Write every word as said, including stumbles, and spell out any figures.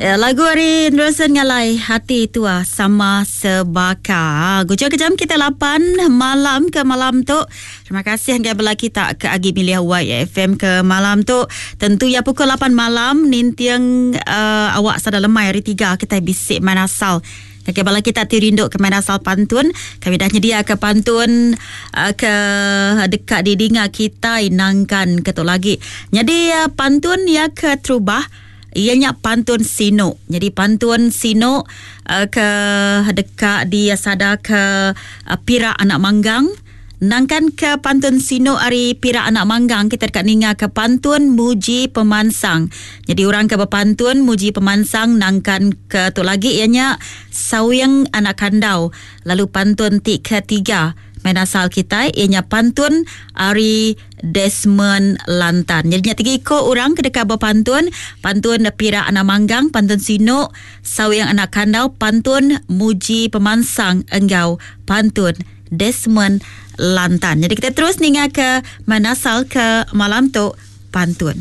Lagu ari Anderson Ngalai, Hati Tua Sama Sebaka. Guja ke jam kita lapan malam ke malam tu. Terima kasih hingga bela kita ke agi milih Y F M ke malam tu. Tentu ya pukul lapan malam nintiang uh, awak sada lemai hari tiga kita bisik main asal. Okey, bala kita ti rindu ke main asal pantun. Kami dah nyedia ke pantun uh, ke dekat di dinga kita inangkan ke tu lagi. Jadi uh, pantun ya ke terubah ianya pantun sino. Jadi pantun sino uh, ke dekat di sada ke uh, Pira Anak Manggang. Nangkan ke pantun sino ari Pira Anak Manggang kita dekat ninga ke pantun muji pemansang. Jadi orang ke berpantun muji pemansang nangkan ke tu lagi ianya Sawing Anak Kandau. Lalu pantun ti ketiga main asal kita ianya pantun ari Desmond Lantan. Jadi nya tiga ikut orang ke dekat berpantun, pantun Pira Anak Manggang, pantun sino Sawing Anak Kandau, pantun muji pemansang enggau pantun Desmond Lantan. Jadi kita terus ninga ke manasal ke malam tu pantun.